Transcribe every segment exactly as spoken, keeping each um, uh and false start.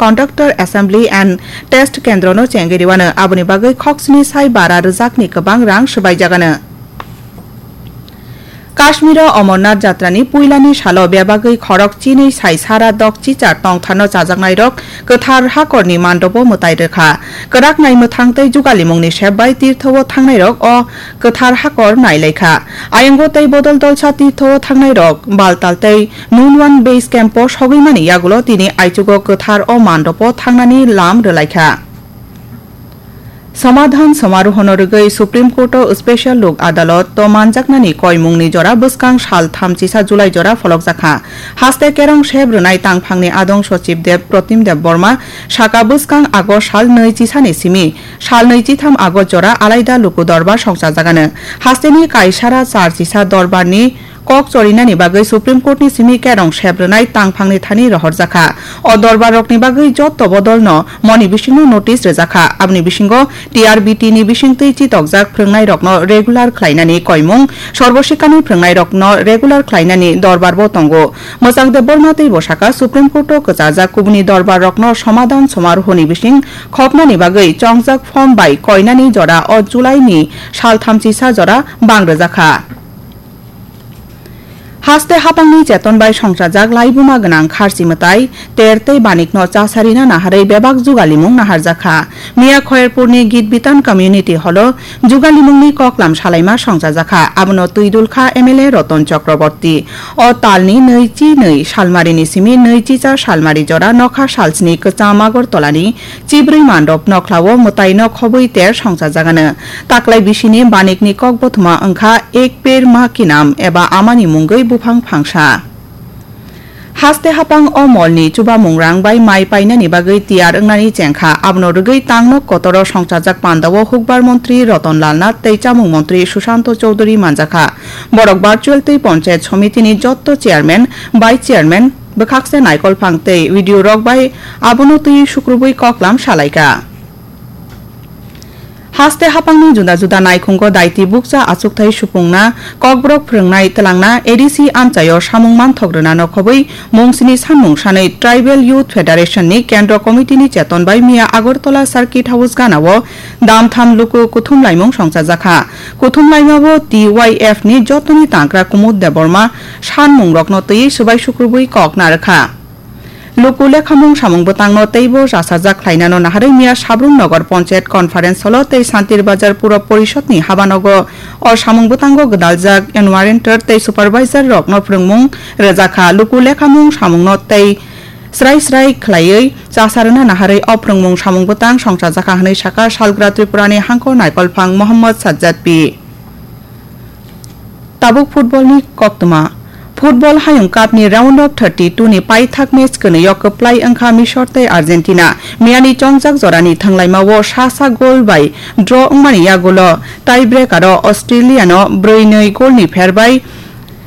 Conductor Assembly and Test Kendro no chengwi rwano, aboni bagwi khoksni sai bara rwjakni kwbang rang swbaijagano. Kashmiro Amarnath Jatrani puilani salo bebagwi khorok chinwi sai sara dok chichar tongthano chajaknairok kwthar hakorni mandobo mwtai rwkha. Kwrak nai mwthang tei jugalimungni sep bai tirtho-o thangnairok o kwthar hakor nailaikha. Ayongo tei bodol dolsa tirtho-o thangnairok Baltal tei Nunwan Base Camp-o sogwi mani yagulo tini aichugo kwthar o mandobo thangnani lam rwlaikha. Samadhan Samarohono rwgwi Supreme Court-o Special Lok Adalot-o manjaknani koimungni jora bwskang sal thamchisa July jora pholokjakha. Haste kerong sep rwnai tangphangni adong Sochib Deb Protim Deb Borma saka bwskang August sal nwi chisani simi sal nwi chitham August jora alaida luku dorbar songchajagano. Hasteni kaisara char chisa dorbarni kok chorinani bagwi Supreme Court-ni simi kerong sep rwnai tangphangni thani rohorjakha. O dorbarrokni bagwi jotto bodolno moni bisingno notice rwjakha. Aboni bisingo T R B T-ni bisingtwi chitokjak phrwngnairokno regular khlainani koimung, Sarvo Shikshani phrwngnairokno regular khlainani dorbarbo tongo. Mwchang Debbarma teibo saka, Supreme Court-o kwchajak kubuni dorbarrokno Samadhan Samarohoni bising khopnani bagwi chongjak form bai koinani jora o July-ni sal thamchisa jora bang rwjakha. Haste hapangni cheton bai songchajak laibuma gwnang kharchi mwtai Ter tei Banikno chasarina naharwi bebak jugalimung naharjakha. Miya Khoyerpurni Gitbitan Community Hall-o jugalimungni koklam salaima songchajakha. Abono twidulkha M L A Roton Chakraborty. O talni nwi chi nwi salmarini simi nwi chi cha salmari jora nokha salsni kwcham Agartalani chibrwi mandop nokhlao mwtaino khobwi ter songchajagano. Taklai bisini Banikni kokbothoma wngkha Ek Ped Maa Ki Naam eba amani mungwi buphang phangsa. Haste hapang o molni chubamung rang bai mai painani bagwi tiyar wngnani chengkha. Abono rwgwi tangnok kotoro songchajak pandao hukbar montri Roton Lal Nath tei chamung montri Sushanto Chowdhury manjakha. Borok virtual tei Panchayat Somitini jotto chairman, vice chairman, bwkhakse naikolphang tei video rok bai abono twi sukrubwi koklam salaikha. Haste hapangni juda juda naikhungo daiti bukcha achukthai supungna, kokborok phrwngnai twlangna, A D C amchaio samung manthok rwna nokhobwi mungsini sanmung sanwi Tribal Youth Federation ni Kendro Committee ni cheton bai miya Agartala Circuit House ganao damtham luku kuthum laimung songchajakha. Kuthum laimao T Y F ni jotoni tangkra Kumud Debbarma sanmungrokno twiwi swbai sukrubwi kok narwkha. Luku lekhamung samung bwtangno teibo chasajak khlainano naharwi miya Sabrum Nagar Panchayat Conference Hall-o tei Santir Bazar Puro Porishod ni habanogo o samung bwtango gwdaljak enumerator tei supervisor rokno phrwngmung rwjakha. Luku lekhamung samungno tei srai srai khlaiwi chasarwna naharwi o phrwngmung samung bwtang songchajakha hwnwi sakha Salgra Tripura ni hangkor naikolphang Mohammad Sajjad P. Tabuk football ni koktwma. Football Hayung Cup ni round of thirty-two ni paithak match kwnwi o kwplai wngkha Misor tei Argentina. Miyani chongjak jorani thwnglaimao sa sa goal bai draw wngmani yagulo tie breaker o Australia no brwi nwi goal ni pher bai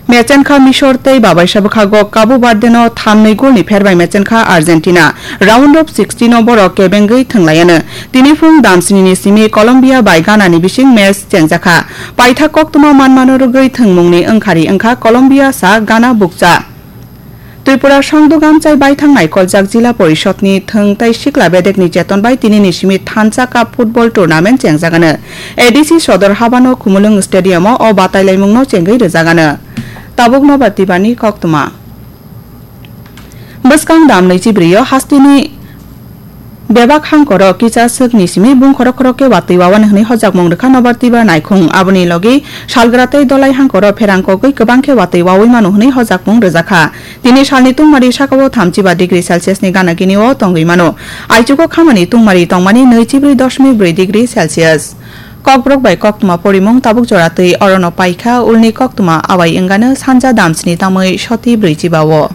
mechenkha Misor tei babaisa bwkhago Cabo Verde no thamnwi goal ni pher bai mechenkha Argentina. Round of sixteen o borok kebengwi thwnglaiyano. Tini phung damsini ni simi Colombia bai Ghana ni bising match chengjakha. Paithak koktwma manmano rwgwi thwngmungni wngkhari wngkha Colombia sa Ghana bukcha. Tripura Songduk Amchai baithang naikolchak Jila Porishod ni thwng tei sikla bedekni cheton bai tini ni simi Thansa Cup football tournament chengjagano. A D C sodor habano Khumulwng Stadium o o batailaimungno chengwi rwjagano. Tabuk Nobar Tibani koktwma. Bwskang dam nwichi brio hasteni bebak hangkoro kisa swkni simi bung khorok khorok khe watwi wawan hwnwi hojakmung rwkha Nobar Tiba naikhung. Aboni logi salgra tei dolai hangkoro pherang kogwi kwbang khe watwi wawi mano hwnwi hojakmung rwjakha. Tini salni tungmari sakao thamchiba degree Celsius ni gana gini o tongwi mano. Aichugo khamani tungmari tongmani nwichi bri doshmik bri degree Celsius. Kokborok bai koktwma porimung tabuk jora twi orono paikha, ulni koktwma awai wngano sanja damsni tamwi soti brwichiba o.